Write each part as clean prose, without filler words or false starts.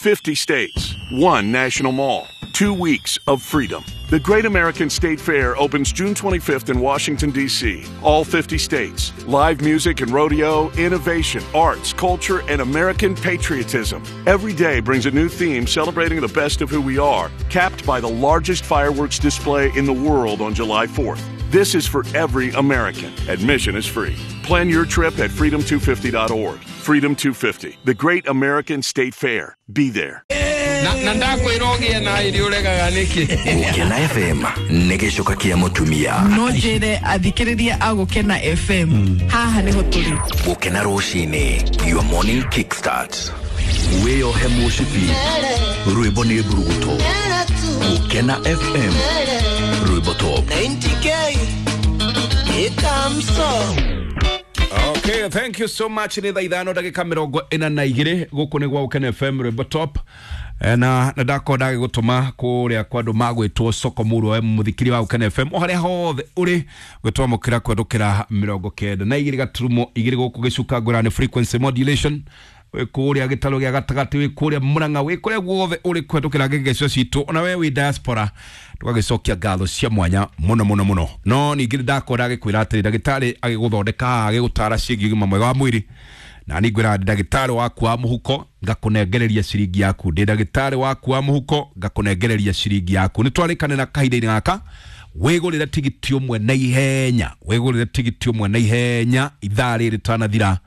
50 states, one national mall, 2 weeks of freedom. The Great American State Fair opens June 25th in Washington, D.C. All 50 states. Live music and rodeo, innovation, arts, culture, and American patriotism. Every day brings a new theme celebrating the best of who we are, capped by the largest fireworks display in the world on July 4th. This is for every American. Admission is free. Plan your trip at freedom250.org. Freedom 250, the Great American State Fair. Be there. Na ndakwĩra ũgĩe na irio ũregaga nĩkĩ? Gũkena FM nĩ gĩcoka kĩa mũtumia. No njĩre athikĩrĩria a Gũkena FM haha nĩho tũrĩ. Gũkena rũcinĩ, your morning kickstart. Wĩyohe mũcibi, rwĩmbo nĩ mburuguto. Gũkena FM, rwĩmbo top. 90K ikamso. Okay, thank you so much. Nĩ thaa 5:42. Gũkũ nĩ gwa Gũkena FM, rwĩmbo top. Na ndakorwo ndagĩgũtũma kũrĩa kwa andũ magwĩtwo soko mũrũ we mũthikiri wa Gũkena FM o harĩa hothe ũrĩ gwĩtwamũkĩra kwendũkĩra 92.2 gũkũ gĩcuka ngũrani frequency modulation, wĩ kũrĩa gĩtarũ gĩa gatagatĩ, wĩ kũrĩa Mũrang'a, wĩ kũrĩa guothe ũrĩ kũhetũkĩra ngegecio citũ, ona we wĩ diaspora, tũgagĩcokia ngatho cia mwanya mũno mũno mũno. No ningĩ ndakorwo ndagĩkwĩra atĩrĩ, ndagĩtarĩ agĩgũthondeka haha, agĩgũtara ciĩgiĩ ũgima mwega wa mwĩrĩ, na niĩ ngwĩra ndĩ ndagĩtarĩ waku wa mũhuko, ngakũnengereria ciringi yaku. Ndĩ ndagĩtarĩ waku wa mũhuko, ngakũnengereria ciringi yaku. Nĩ twarĩkanĩra kahinda-inĩ gaka wĩgũrĩre tigiti ũmwe na ihenya, wĩgũrĩre tigiti ũmwe na ihenya ithaa rĩrĩ tanathira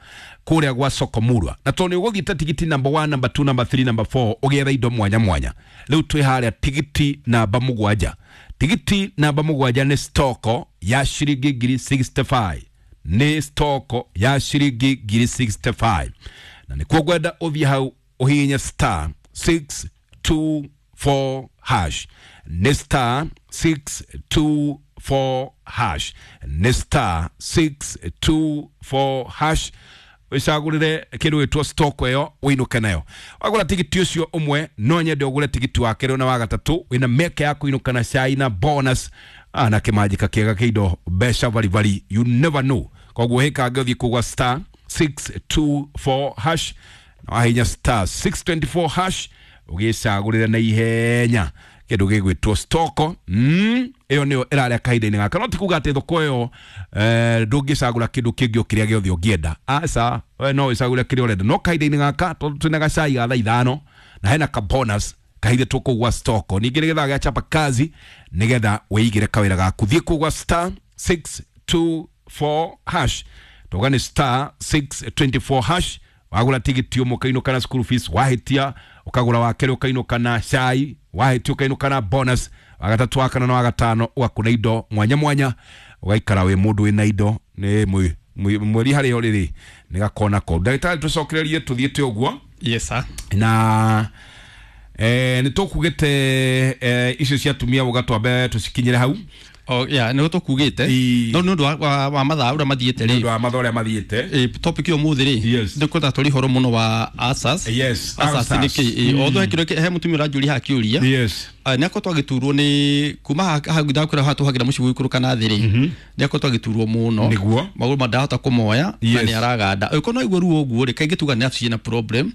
kũrĩa gwa soko murwa, na tondũ nĩ ũgũthiĩte tigiti number 1, number 2, number 3, number 4, ũgĩetha indo mwanya mwanya. Rĩu twĩ harĩa tigiti namba 7. Tigiti namba 7 nĩ stoko ya ciringi 65,000, nĩ stoko ya ciringi 65,000, na nĩkuo ngwenda ũthiĩ hau ũhihinye *624#, nĩ *624#, nĩ *624#. Wĩcagũrĩre kĩndũ gĩtwo stock ĩyo ũinũke nayo. Wagũra tigiti ũcio ũmwe, no nyende ũgũre tigiti wa kerĩ na wa gatatũ, wĩna mĩeke ya kũinũka na cai na bonus, na kĩmanjĩka kĩega kĩa indo mbeca baribari. You never know. Koguo hĩkange ũthiĩ kũgwa *624# na wahinya *624# ũgĩcagũrĩre na ihenya kĩndũ gĩgwĩtwo stoko. Ĩyo nĩyo ĩrarĩa kahinda-inĩ gaka. No ti kuga atĩ thoko ĩyo ndũngĩcagũra kĩndũ kĩngĩ o kĩrĩa gĩothe ũngĩenda. Aca, we no wĩcagũre kĩrĩa ũrenda, no kahinda-inĩ gaka tondũ twĩna gacai ga thaa 5 na hena ka bonus kahithĩtwo kũu gwa stoko, ningĩ nĩgetha gĩa chapa kazi, nĩgetha wĩigĩre kawĩra gaku, thiĩ kũu gwa *624#. Tuga nĩ *624#. Wagũra tigiti ũmwe ũkainũka na school fees, wahĩtia ũkagũra wa kerĩ ũkainũka na cai, wahĩtia ũkainũka na bonus, wa gatatũ, wa kana na wa gatano ũgakũna indo mwanya mwanya, ũgaikara wĩ mũndũ wĩna indo nĩ mweri harĩa ũrĩ rĩ nĩ gakona ko. Ndagĩtarĩ, tũcokererie tũthiĩte ũguo. Yes sir. Na nĩ tũkugĩte icio cia atumia ũga twambe tũcikinyĩre hau. Oh yeah, nĩ tũkugĩte. No nĩ ũndũ wa mathaa ũrĩa mathiĩte nĩ rĩ. Ũndũ wa mathaa ũrĩa mathiĩte. Topic ĩyo mũthĩ rĩ, ndĩkwenda tũri horo mũno wa ulcers. Ulcers nĩ ulcers. kĩ? Although he kĩrĩa he mũtumia ũranjũria haha kĩũria. Nĩ akoretwo agĩturwo nĩ kuma hau ndakwĩra haha tũhagĩra mũciĩ gũikũrũka na thĩ rĩ, nĩ akoretwo agĩturwo mũno. Magũrũ ma ndahota kũmoya na nĩ araganda. Angĩkorwo no aigue ruo ũguo rĩ, kaingĩ tuga nerve ciĩna problem.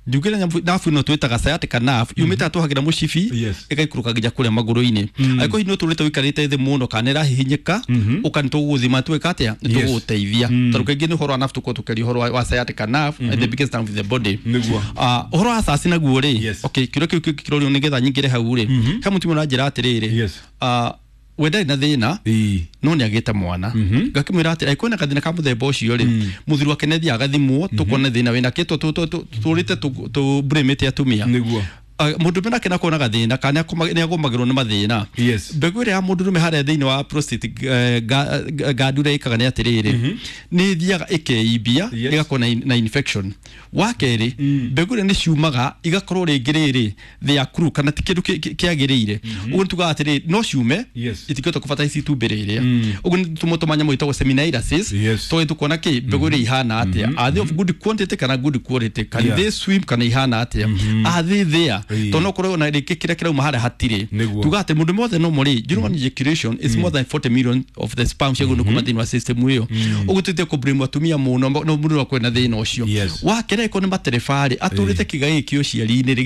Njugire nerve ĩno twĩtaga sciatica nerve, yumĩte tũhagĩra mũcibi, ĩgaikũrũka nginya kũrĩa magũrũ-inĩ. Angĩkorwo hihi nĩ ũtũrĩte ũikarĩte thĩ mũno kana ĩrahihinyĩka, ũka nĩ tũgũgũthima twĩka atĩa, nĩ tũgũgũteithia, tondũ kaingĩ nĩ ũhoro wa nerve tũkorwo tũkĩaria ũhoro wa sciatica nerve, the biggest nerve in the body. Ah, ũhoro wa ulcers naguo rĩ, okay, kĩũria kĩu kĩrorio nĩgetha nyingĩre hau rĩ, he mũtumia ũranjĩra atĩrĩrĩ, we ndarĩ na thĩna no nĩ agĩte mwana. Ngakĩmwĩra atĩ angĩkorwo na gathĩna ka mũthemba ũcio rĩ, mũthuri wake nĩ athiaga agathimwo tũkone thĩna wĩna kĩ tũrĩte tũbũrĩmĩte atumia. Mũndũrũme nake nakorwo na gathĩna kana nĩ agũmagĩrwo nĩ mathĩna, mbegũ ĩrĩa ya mũndũrũme harĩa thĩinĩ wa prostate gland ũrĩa ĩkaga nĩ atĩrĩrĩ, nĩ ĩthiaga ĩkeimbia, ĩgakorwo na infection. Wa kerĩ, mbegũ ĩrĩa nĩ ciumaga igakorwo rĩngĩ rĩrĩ they are crew kana ti kĩndũ kĩagĩrĩire. Ũguo nĩ tugaga atĩrĩrĩ, no ciume, itingĩhota kũbata ici itumbĩ rĩrĩa. Ũguo nĩ tũmanyamũ twĩtagwo seminailysis, tũgĩ tũkona kĩ mbegũ ĩrĩa ihana atĩa, are they of good quantity kana good quality, can they swim kana ihana atĩa, are they there, tondũ no korwo na rĩngĩ kĩrĩa kĩrauma harĩa hatirĩ. Tuga atĩ mũndũ mothe no mũrĩ during ejaculation is more than 40 million of the sperm ciagĩrĩirwo kuma thĩinĩ wa system ĩyo. Ũguo tũtige kũblame atumia mũno, no mũndũ no akorwo na thĩna ũcio. Wa kerĩ, angĩkorwo nĩ matereba rĩ, atũrĩte kĩga gĩkĩ ũciari-inĩ rĩ.